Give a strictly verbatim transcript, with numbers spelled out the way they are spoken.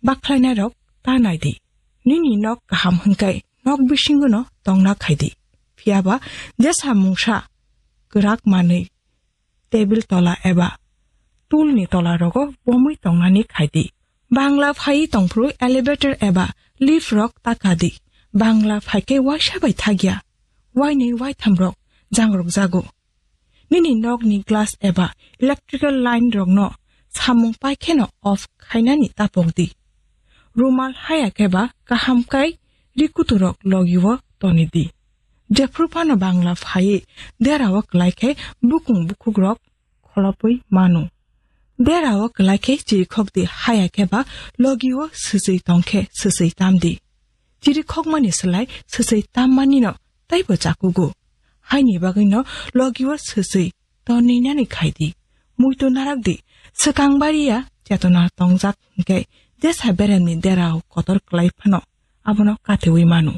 bakhlainairok ta nai di. Nini nok kaham hwnkhe nok bisingono tongna khai di. Phiyaba jesa mungsa kwrak manwi tebil tola eba tulni tola rogo bomwi tongnani khai di. Bangla phai tongphru elevator eba lift rok ta ka di. Bangla phaikhe waisa bai thagya. Wainwi waitham rok jangrok jago. Nini nokni glass eba electrical line rokno samung paikheno off khainani tapok di. Rumal haya khe ba kaham kai rikuturok logio toni di. Jephru phano Bangla phaiwi derao kwlai khe bukung bukhukrok kholopwi mano. Derao kwlai khe chirikhok di, haya khe ba logio swchwi tong khe swchwi tam di. Chirikhokmani slai swchwi tammanino taibo chakugo. Haini bagwino logio swchwi toninani khai di. Muitu narak di, swkang bariya chetona tongjak hwnkhe jesa beremni derao kotor kwlai phano abono katewi mano.